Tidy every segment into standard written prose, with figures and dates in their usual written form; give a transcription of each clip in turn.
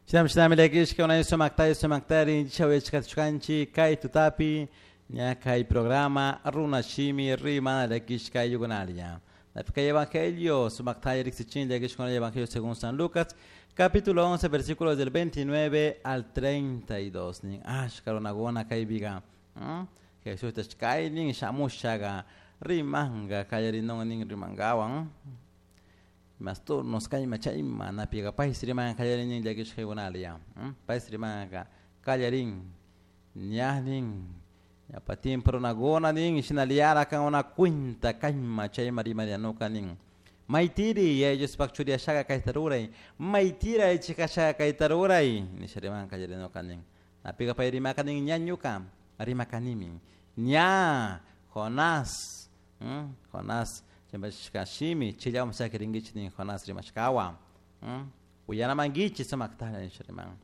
Shinami shinami llakishka unay sumaktay sumaktari chawayachkachkanchik kay tutapi ña kay programa runa shimi rimana llakishka ayllukunalla. Kay evangelio sumaktay riksichin llakishkuna evangelio según San Lucas capítulo 11 versículos del 29 al 32 nin ashka runakuna kaypiqa Jesús kaynin shamushaqa rimanqa qallarinun nin rimankawan mas turnos kayma chayma napiqa paysi rimanqa qallarinin llakishkaykunalla paysi rimanqa qallarin ñanin ñawpa tiempo runakuna nin shinallara kankuna cuenta kayma chayma rimarianuka nin maytiri Yaya Diospaq churi ashaqa kayta ruray maytira ichik ashaqa kayta ruray nisha rimanqa qallarinuka nin napiqa pay rimaka nin ña ñuka rimakanimi ña Jonás Jonás chimpachishka shimi chillawan sakirinkichik nin Jonás rimashkawan uyanamankichik sumaktalla nisha riman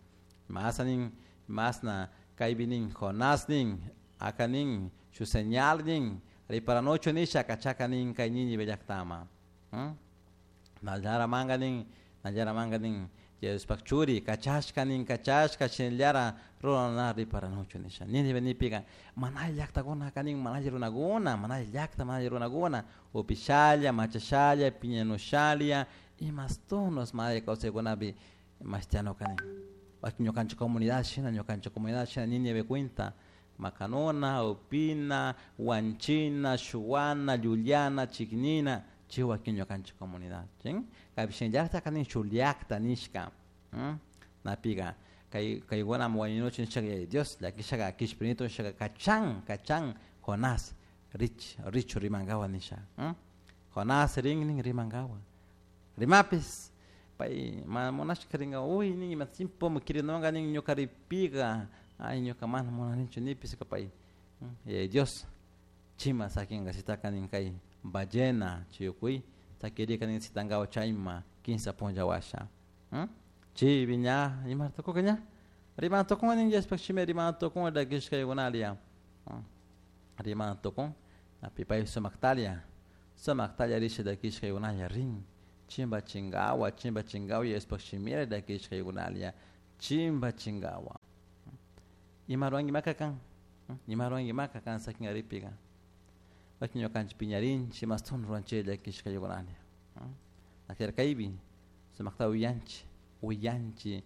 masa nin masna kaypi nin Jonás nin aka nin shuk señal nin riparanuchu nisha kachaka nin kay Nínive llaktaman nallara nin nallara nin Diospaq churi kachashka nin kachashka shinallara rurana riparanuchu nisha Nínive nipika mana alli llaktakunaka nin mana alli runakuna mana alli llakta mana alli runakuna upishalla machashalla piñanushalla imastunos mana alli kawsaykunapi mashtianuka nin wakin ñukanchik comunidad shina ñukanchik comunidad shina Nínive cuenta makanuna upina wanchina shuwana llullana chiknina chay wakin ñukanchik comunidad chin kaypi shinallataka nin shuk llakta nishka napika kay kaykuna wañunuchun nishaka Yaya Dios llakishaka kishpirinitu nishaka kachan kachan Jonás rich richu rimankawa nisha Jonás rin nin rimankawa rimapis pay mana munashka rinka uy nin ima tiempo kirinunka nin ñuka ripika ay ñuka mana munanichu nipis pay Yaya Dios chima sakinka sitaka nin kay ballena chay ukuy sakirika nin sitankawa chayma kinsa punlla washa chaypi ña ima tukuka ña rimana tukun nin Diospaq shimi rimana tukun llakishkaykunalla rimana tukun napi pay sumaktalla sumaktalla risha llakishkaykunalla rin chimpachinkawa chimpachinkawa Diospaq shimira llakishkaykunalla chimpachinkawa ima ruwanki maka kan ima ruwanki maka kan sakin ripika wakin ñukanchik piñarinchik mastun ruwanchik llakishkaykunalla kaypi sumakta uyanchik uyanchik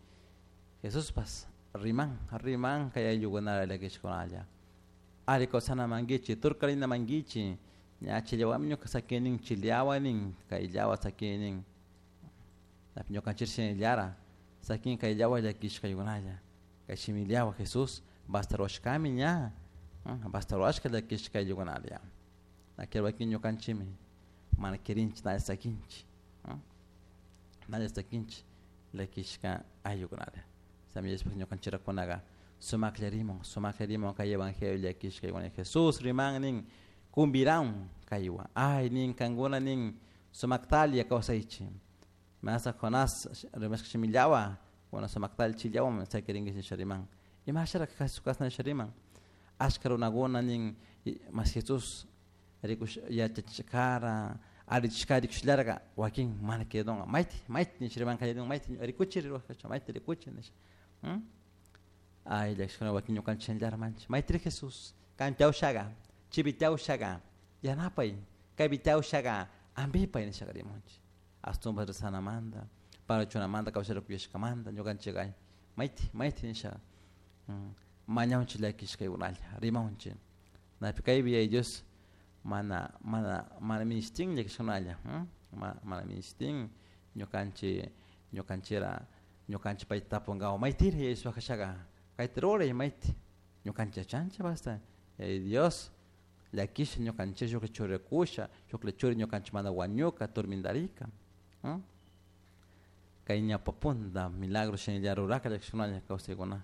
Jesuspas riman riman kay ayllukunara llakishkunalla ari kawsanamankichik turkarinamankichik ña chillawami ñuka sakinin chillawa nin kayllawa sakinin ñukanchik shinallara sakin kayllawa llakishkaykunalla kay shimillawa Jesús basta ruwashkami ña basta ruwashka llakishka ayllukunalla wakin ñukanchikmi mana quirinchik nalla sakinchik nalla sakinchik llakishka ayllukunalla Diospaq ñukanchikkunaka sumaklla rimun sumaklla rimun kay evangelio llakishkaykuna Jesús riman nin kumbiraun kaywan ay nin kankuna nin sumaktalla kawsaychik masa Jonás rimashka shimillawa kuna sumaktalla chillawan sakirinkichik nisha riman imasharak kasna nisha riman ashka runakuna nin mas Jesús rikush yachachishkara allichishkara rikushallarka wakin mana quedonka mayti mayti nisha riman kallarin mayti rikuchi ruwashka mayti rikuchi nisha ay llakishkuna wakin ñukanchik shinallara manchik maytiri Jesús kan tiyawshaka chaypi tiyawshaka yanapay kaypi tiyawshaka ampipay nishaka rimunchik ashtawanpas rezanamanta parachunamanta kawsarikuyashkamanta ñukanchik ay mayti mayti nisha mañawchik llakishkaykunalla rimawnchik napi kaypi Yaya Dios mana mana mana minishtin llakishkunalla mana minishtin ñukanchik ñukanchikra ñukanchik payta tapunkawa maytiri Yaya Diospaq kashaka kayta ruray mayti ñukanchik yachanchik basta Yaya Dios llakisha ñukanchik shuklla churikusha shuklla churi ñukanchikmanta wañuka turmintarika kay ñawpa punta milagro shinalla ruraka llakishkunalla kawsaykuna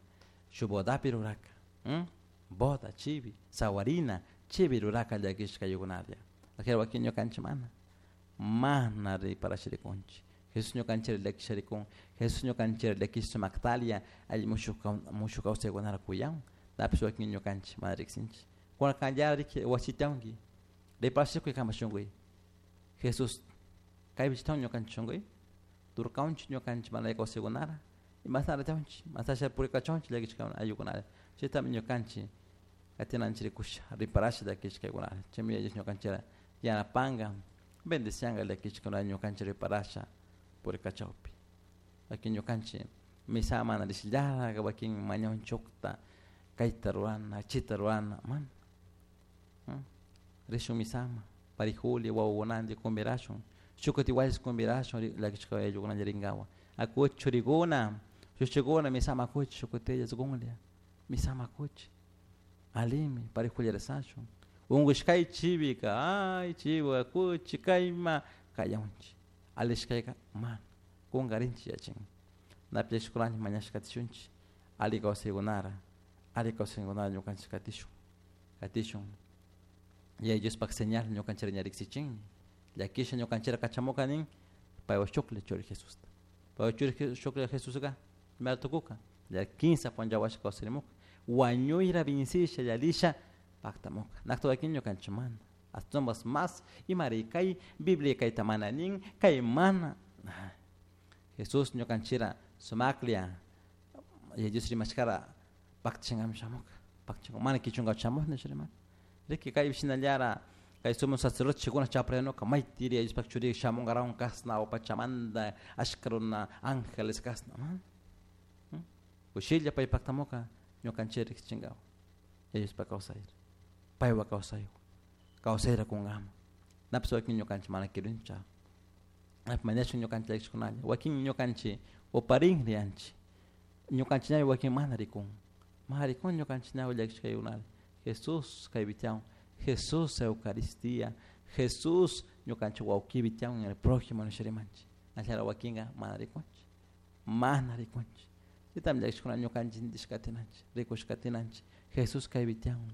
shuk bodapi ruraka boda chivi sawarina chivi ruraka llakishka ayllukunalla wakin ñukanchik mana mana riparashirikunchik Jesús ñukanchik llakisharikun Jesús ñukanchik llakish sumaktalla alli mushuk mushuk kawsaykunata kuyan napish wakin ñukanchik mana riksinchik kuna kanlla riki wasitawanki riparashikuy kanpak shunkuy Jesús kaypi chitahun ñukanchik shunkuy turkawanchik ñukanchik mana alli kawsaykunata Imashnara tiyanchik, masasha purikachunchik llakishkakuna ayllukunalla. Chaytami ñukanchik katinanchik rikusha riparasha llakishkaykunata. Chaymi Yaya Dios ñukanchik yanapanka bendicianka llakishkuna ñukanchik riparasha purikachawpi. Wakin ñukanchik misa mana rishillala wakin mañanchukta kayta rurana, chayta rurana, mana. Rishun misama, parijuli wawakunantin convidashun, shuk igual convidashun llakishka ayllukunalla rinkawa. Akuchi churikuna, shushikuna misama akuchi shukutilla sukunlla, misama akuchi. Alimi, parijuli rezashun. Unkushkay chivika, ay chivo akuchi kayma kayanchik. Alishkayka mana, kunkarinchik yachin. Napi llakishkunanchik mañashka katishunchik, alli kawsaykunara, alli kawsaykunara ñukanchik katishun, katishun. Yaya Diospak señal ñukanchik ña riksichinmi. Llakisha ñukanchik kachamuka nin paywan shuklla churi Jesusta. Paywan churi shuklla Jesuska imata tukuka ya kinsa punlla washa kawsarimuka. Wañuyra vincisha yallisha paktamuka. Nakta wakin ñukanchik mana. Ashtawanpas mas imari kay Biblia kayta mana nin kay mana. Jesús ñukanchikra sumaklla Yaya Dios rimashkara paktachinkami shamuka. Paktachinka mana kichunka shamuj nisha rimaka. Riki kay shinallara kay sumo sacerdote chikuna chaprayanuka maytiri Yaya Diospak churi shamunkarawun kasna pachamanta ashka runa ángeles kasna mana. Kushilla pay paktamuka ñukanchik riksichinkawa Yaya Diospak kawsayra paywan kawsaywan kawsayra kunkama. Napish wakin ñukanchik mana kirincha. Napi mañashun ñukanchik llakishkunalla wakin ñukanchik uparin riyanchik ñukanchik ñawi wakin mana rikun mana rikun ñukanchik ñawi llakishkaykunalla. Jesús kaypi tiyan, Jesús Eucaristía, Jesús ñukanchik wawkipi tiyan en el prójimo nisha rimanchik. Ashala wakinka mana rikunchik, mana rikunchik. Chaytami llakishkuna ñukanchik intishka katinanchik, rikushka katinanchik. Jesús kaypi tiyan,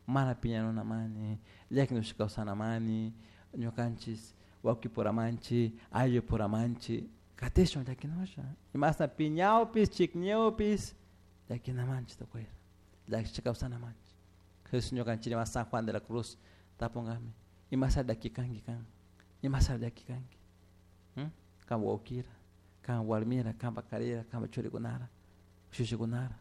mana piñanunamani, llakinushka kawsanamani, ñukanchik wawkipuramanchik, ayllupuramanchik, katishun llakinusha. Imashna piñawpis, chikñawpis, llakinamanchik tukuyra, llakishka kawsanamanchik. Jesús ñukanchik riman San Juan de la Cruz tapunkami, imasha llakikanki kan, imasha llakikanki. Kan wawkira, kan warmira, kanpak karira, kanpak churikunara, shushikunara.